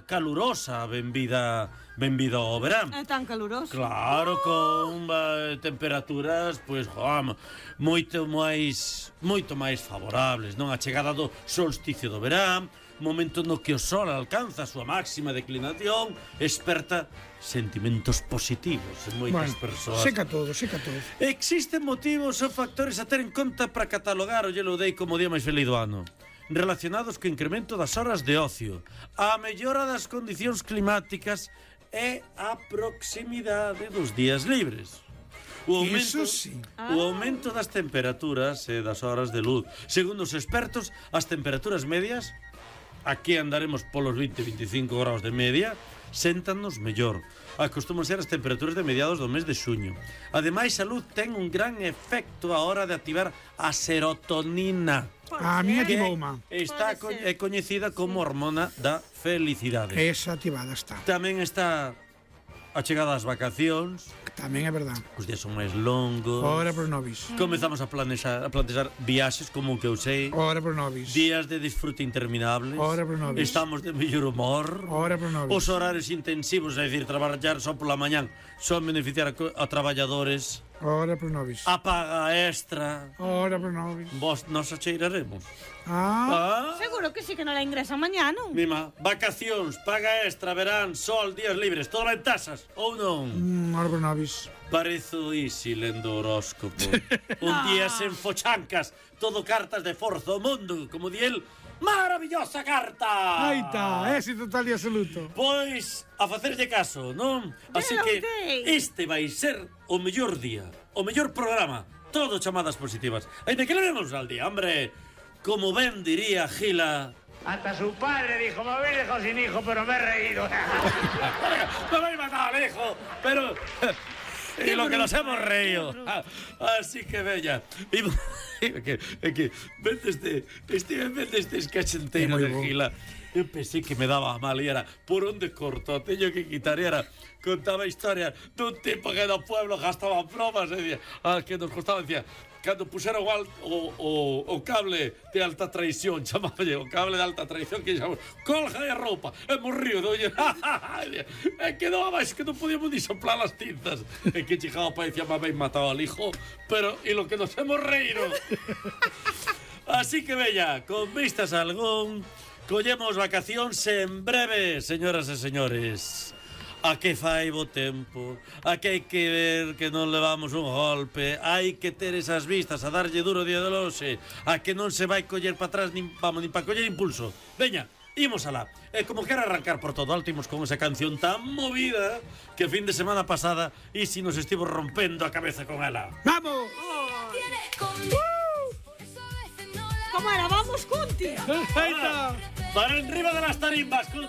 calurosa benvida ao verán. É tan caluroso. Claro, con temperaturas pois, moito máis favorables, non? A chegada do solsticio do verán, momento no que o sol alcanza a súa máxima declinación, esperta sentimentos positivos en moitas persoas. Seca todo. Existen motivos ou factores a ter en conta para catalogar o Yellow Day como o día máis feliz do ano, relacionados co incremento das horas de ocio, a mellora das condicións climáticas e a proximidade dos días libres. O aumento das temperaturas e das horas de luz. Segundo os expertos, as temperaturas medias, aquí andaremos polos 20-25 graus de media, séntanos mellor. Acostuman ser as temperaturas de mediados do mes de xuño. Ademais, a luz ten un gran efecto a hora de activar a serotonina. A miña tibouma. Está coñecida como hormona da felicidade. Esa activada está. Tamén está a chegada das vacacións. Tamén é verdad. Os días son máis longos. Ora por nobis. Comezamos a planexar viaxes como o que eu sei. Ora por nobis. Días de disfrute interminables. Ora por nobis. Estamos de mellor humor. Ora por nobis. Os horarios intensivos, é dicir, traballar só pola mañán, son beneficiar a traballadores. Ora por nobis. A paga extra. Ora por nobis. Vos nos acheiraremos. Seguro que sí que non la ingresan mañá, non? Mima, vacacións, paga extra, verán, sol, días libres, todo en tasas, ou non? Ora por nobis. Parezo easy lendo horóscopo. Un día sen fochancas, todo cartas de forza ao mundo, como di el. Maravillosa carta! Aí está, éxito total e absoluto. Pois, a facerlle caso, non? Así que este vai ser o mellor día, o mellor programa, todo chamadas positivas. Ainda que levemos al día, hombre. Como ben diría Gila... Hasta su padre dijo, me habéis dejado sin hijo, pero me he reído. Me habéis matado al hijo, pero... y lo que nos hemos reído. Así que bella. Que vete este escachenteiro de Gila. Eu pensei que me daba mal e era por onde corto, teño que quitar e era contaba a historia dun tipo que no pueblo gastaba bromas e dicía, que nos costaba, decía, cando puseron o cable de alta traición, chamaballe o cable de alta traición que chamamos, colga de roupa, e morriu, doña, e quedou abaixo que non podíamos ni soplar as tintas, e que chegaba para decía, me habéis matado al hijo, pero e lo que nos hemos reído. Así que bella, con vistas a algún... Collemos vacacións en breve, señoras e señores. A que fai bo tempo, a que hai que ver que non levamos un golpe, hai que ter esas vistas a darlle duro día de loxe, a que non se vai coller para atrás nin para coller impulso. Veña, imos alá. E como quero arrancar por todo alto, imos con esa canción tan movida que fin de semana pasada Isi nos estivo rompendo a cabeza con ela. ¡Vamos! ¿Cómo era? ¡Vamos, Conti! Ahí está. Para enriba de las tarimbas, Conti.